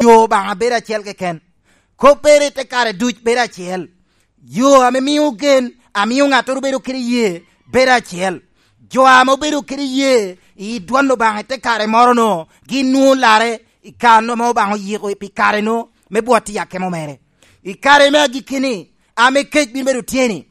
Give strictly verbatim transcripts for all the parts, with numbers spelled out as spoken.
yo Obaŋa bedo acel keken. Koppere i te kare duc bedo acel. Yo ame mio gen, amio ŋattoro bedo kede ye, bedo acel. Jo ame obedo kede ye i dwon Obaŋa i te kare moro-nu, gin nwoŋo larre i kan ame Obaŋa oyiko pi kare-nu me bwot i akemo mere. I kare me agikki-ni, ame kec bino bedo tye-ni,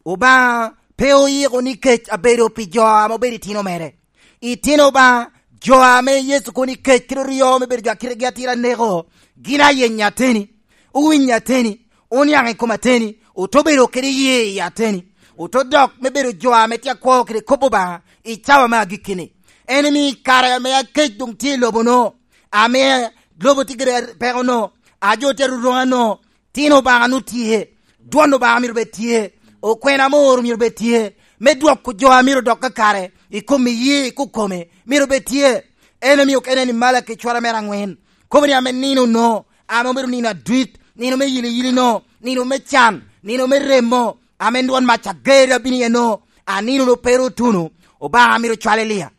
Obaŋa pe oyiko ni kec abedo pi jo ame obedo itino mere. Itino Obaŋa, jo ame Yecu kono i kec kede oryo me bedo jo a kitegi atira aneko, gin ayenyo ateni, owinyo ateni, oniaŋ i kom ateni, ote bedo kede ye i ateni, ote dok me bedo jo ame tye akwo kede kop Obaŋa i cawa me agikki-ni. En omio i kare ame akec doŋ tye i lobo-nu, ame lobo tye kede peko-nu, a jo tye aruruma-nu, Tin Obaŋa nu tye, dwon Obaŋa myero bed tye, okwena ame ooro myero bed tye, me dwoko jo a myero dok kakare i kom iyee i kokome myero bed tye. En omio kene ni Malaki cwara mere aŋwen, kobo ni ame nino no, ame obedo nino adwit, nino me yiliyili no, nino me can, nino me remo, ame dwon mac ager abino iye no, a nino no pe ru otuno, Obaŋa myero cwal Elia.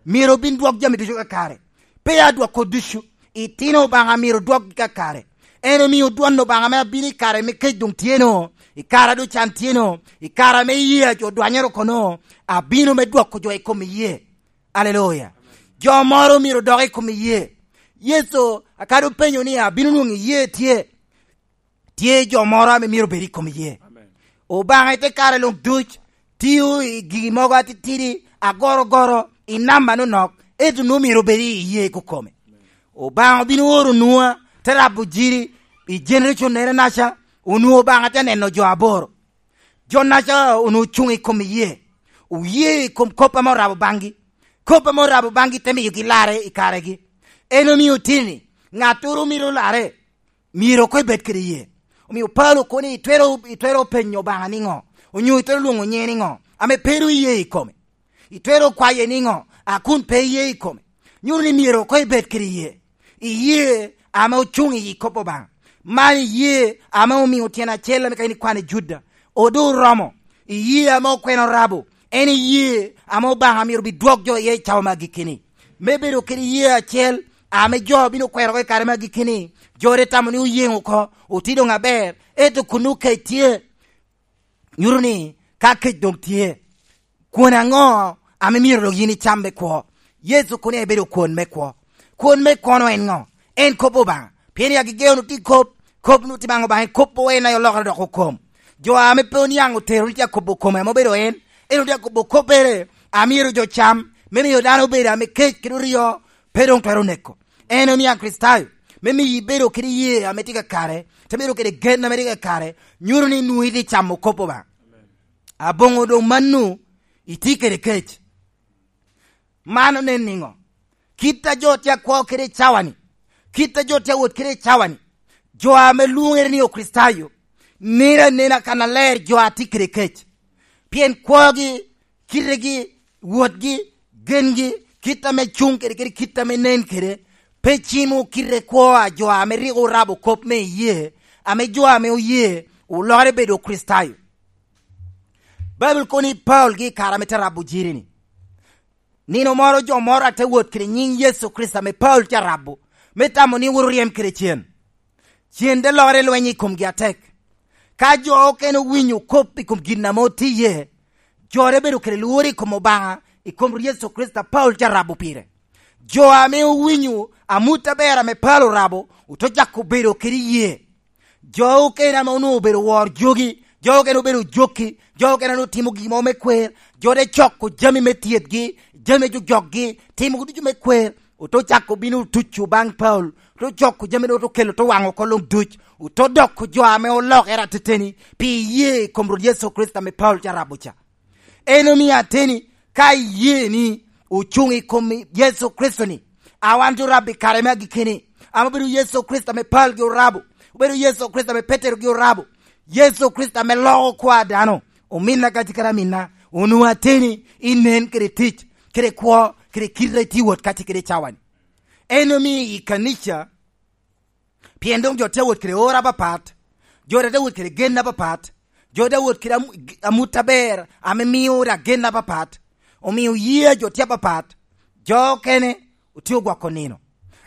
Myero obin dwok jami ducu kakare. Pe adwoko ducu, itino Obaŋa myero dwokgi kakare. En omio dwon Obaŋa ame abino i kare me kec doŋ tye no, i kare a doŋ can tye no, i kare ame iyee a jo dwanyere oko no, abino me dwoko jo i kom iyee. Aleluya. Jo moro myero dok i kom iyee. Yecu, akadi openyo ni, "Abino nwoŋo iyee tye?" Tye jo moro ame myero bed i kom iyee. Amen. Obaŋa i te kare luŋ duc tio i gigi mogo atitidi, agorogoro, i namba nonok, ento nwoŋo myero obed i iyee kokome. Obaŋa obino oro Nua, te rabo jiri i generation nere naca, onwoŋo Obaŋa te neno jo aboro. Jo naca onwoŋo ocuŋ i kom iyee, oye i kom kop ame orabo baŋgi. Kop ame orabo baŋgi te miyogi larre i karegi. En omio tini, ŋattoro mito larre, myero koŋ ibed kede iyee. Omio Paulo kono ni, itwero, itwero penyo Obaŋa niŋo? Onyo itwero lwoŋo nyiŋe niŋo, ame pe ru iyee i kome? Itwero kwaye niŋo, a kun pe iyee i kome? Nyuto ni myero koŋ ibed kede iyee. Iyee ame ocuŋ i kop Obaŋa. Man iyee ame omio tyen acel ame ka in ikwano i Juda, odo oromo. Iyee ame okwena orabo, en iyee ame Obaŋa myero bidwok jo iye i cawa me agikki-ni. Me bedo kede iyee acel, ame jo bino kwero oko i kare me agikki-ni, jo de tamo ni oyeŋ oko, otye doŋ aber, ento kun okec tye. Nyuto ni ka kec doŋ tye, kwon aŋo ame myero dok yin icam me kwo? Yecu kono ebedo kwon me kwo. Kwon me kwono en ŋo? En kop Obaŋa. Pien i agege onwoŋo tye kop, kop onwoŋo tye baŋ Obaŋa, en kop en aye olokere dok okom. Jo ame pe oniaŋ otero ni tye akobo kome ame obedo en, en otye akobo koppere a myero jo cam, me miyo dano obedo ame kec kede oryo, pe doŋ twero neko. En omio Akricitayo, me miyo ibedo kede iyee ame tye kakare, te bedo kede gen ame tye kakare, nyuto ni nwoŋo itye camo kop Obaŋa. Aboŋo doŋ mano, itye kede kec. Man onen niŋo? Kit a jo tye akwo kede i cawa-ni, kit a jo tye awot kede i cawa-ni, jo ame lwoŋere ni Okricitayo, neno anena kannaler jo a tye kede kec. Pien kwogi, kitegi, wotgi, gengi, kit ame cuŋ kede, kede kit ame nen kede, pe cimo kite kwo a jo ame rik orabo kop me iyee, ame jo ame oye olokere bedo Okricitayo. Baibul kono ni Paulo gi i kare ame te rabo jiri-ni, nino moro jo moro a te wot kede nyiŋ Yecu Kricito ame Paulo te rabo, me tamo ni wot oryem kede cen. Cen te lokere lweny i komgi atek. Ka jo okene owinyo kop i kom gin ame otye iye, jo te bedo kede lworo i kom Obaŋa, i kom Yecu Kricito a Paulo te rabo pire. Jo ame owinyo amut aber ame Paulo orabo, ote cako bedo kede iyee. Jo okene ame onwoŋo obedo wor jogi, jo okene obedo jokki, jo okene onwoŋo timo gin mo me kwer, jo te coko jami me tyetgi, jami me jojokgi, timo ducu me kwer, ote cako bino tuco baŋ Paulo, ote coko jami, ote kelo, ote waŋo oko luŋ duc, ote doko jo ame olokere ateteni pi iyee i kom Rwot Yecu Kricito ame Paulo te rabo ca. En omio ateni, ka iyee ni ocuŋ i kom Yecu Kricito-ni, a wan te rabo i kare me agikki-ni, ame obedo Yecu Kricito ame Paulo gi orabo, obedo Yecu Kricito ame Petero gi orabo, Yecu Kricito ame loko kwo a dano, ominna kadi kara minna, onwoŋo ateni inen kede tic, kede kwo, kede kite a itye wot kacce kede i cawa-ni. En omio i kanica, pien doŋ jo tye awot kede oro apapat, jo tye awot kede gen apapat, jo tye awot kede am-, amut aber ame mio daŋ gen apapat, omio yee a jo tye apapat, jo okene otye ogwoko nino,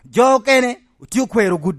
jo okene Otye okwero gudo